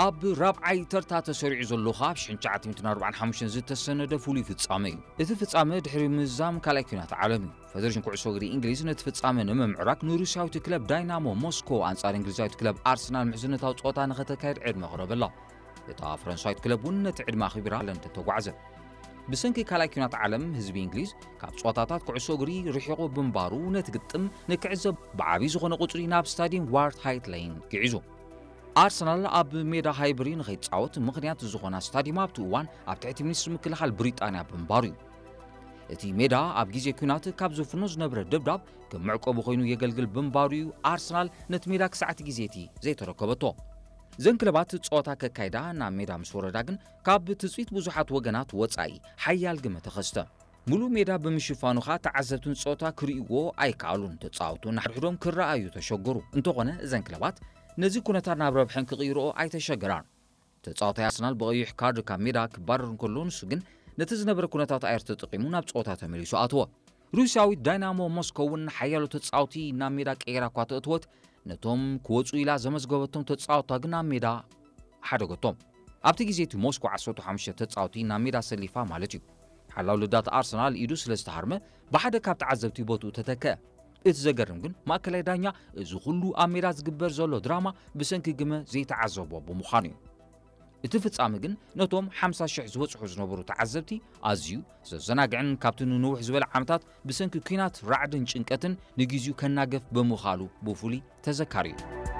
ኣብ ራብዓይ ተርታ ተሰሪዑ ዘሎ ካብ ሽሕን ትሽዓተ ሚእትን ኣርባዓን ሓሙሽተን ዝተሰነደ ፍሉይ ፍጻመ እዩ። እቲ ፍጻመ ድሕሪ ምዝዛም ካልኣይ ኲናት ዓለም እዩ። ፈደሬሽን ኩዕሶ እግሪ እንግሊዝ ነቲ ፍጻመ ንምምዕራግ ንሩስያዊት ክለብ ዳይናሞ ሞስኮ ኣንጻር እንግሊዛዊት ክለብ ኣርሰናል ምሕዝነታዊ ጸወታ ንኸተካይድ ዕድመ ኣቕረበላ። እታ ፈረንሳዊት ክለብ እውን ነቲ ዕድመ ኣኽቢራ ለንደን ተጓዕዘ። ብሰንኪ ካልኣይ ኲናት ዓለም ህዝቢ እንግሊዝ ካብ ጸወታታት ኩዕሶ እግሪ ርሒቑ ብምንባሩ ነቲ ግጥም ንክዕዘብ ብዓቢ ዝኾነ ቁጽሪ ናብ ስታድየም ዋርት ሃይት ሌን ግዒዙ። ኣርሰናል ኣብ ሜዳ ሃይብሪ ንኸይጻወት ምኽንያት ዝኾና ስታድየም ኣብቲ እዋን ኣብ ትሕቲ ሚኒስትሪ ምክልኻል ብሪጣንያ ብምንባሩ እዩ። እቲ ሜዳ ኣብ ግዜ ኲናት ካብ ዘፍኖ ዝነበረ ደብዳብ ከም መዕቆቢ ኮይኑ የገልግል ብምንባሩ እዩ ኣርሰናል ነቲ ሜዳ ክሳዕ እቲ ግዜ እቲ ዘይተረከበቶ። እዘን ክለባት ጸወታ ከካይዳ ናብ ሜዳ ምስ ወረዳ ግን ካብ ትጽቢት ብዙሓት ወገናት ወጻኢ ሓያል ግመ ተኸስተ። ሙሉእ ሜዳ ብምሽፋኑ ኸኣ ተዓዘብትን ጸወታ ክርእይዎ ኣይከኣሉን። ተጻወቱ ንሓድሕዶም ክረኣዩ ተሸገሩ። እንተኾነ እዘን ክለባት ነዚ ኩነታት ናብ ረብሐን ክቕይርኦ ኣይተሸገራን። ተጻዋታይ ኣርሰናል ብቐይሕ ካርድ ካብ ሜዳ ክባረር እንከሎ ንሱ ግን ነቲ ዝነበረ ኩነታት ኣየር ተጠቒሙ ናብ ጸወታ ተመሊሱ ኣተወ። ሩስያዊት ዳይናሞ ሞስኮ እውን ሓያሎ ተጻወቲ ናብ ሜዳ ቀይራ እኳ ተእትወት ነቶም ክወጹ ኢላ ዘመዝገበቶም ተጻወታ ግን ኣብ ሜዳ ሓደገቶም። ኣብቲ ግዜ እቲ ሞስኮ ዓሰርተ ሓሙሽተ ተጻወቲ ናብ ሜዳ ሰሊፋ ማለት እዩ። ሓላው ልዳት ኣርሰናል ኢዱ ስለ ዝተሃርመ ብሓደ ካብ ተዓዘብቲ ቦትኡ ተተከአ። እቲ ዘገርም ግን ማእከላይ ዳኛ እዚ ኩሉ ኣብ ሜዳ ዝግበር ዘሎ ድራማ ብሰንኪ ግመ ዘይተዓዘቦ ብምዃኑ እዩ። እቲ ፍጻመ ግን ነቶም ሓምሳ ሽሕ ዝበጽሑ ዝነበሩ ተዓዘብቲ ኣዝዩ ዘዘናግዕን ካብቲ ንንውሕ ዝበለ ዓመታት ብሰንኪ ኲናት ራዕድን ጭንቀትን ንግዜኡ ከናገፍ ብምኻሉ ብፍሉይ ተዘካሪ እዩ።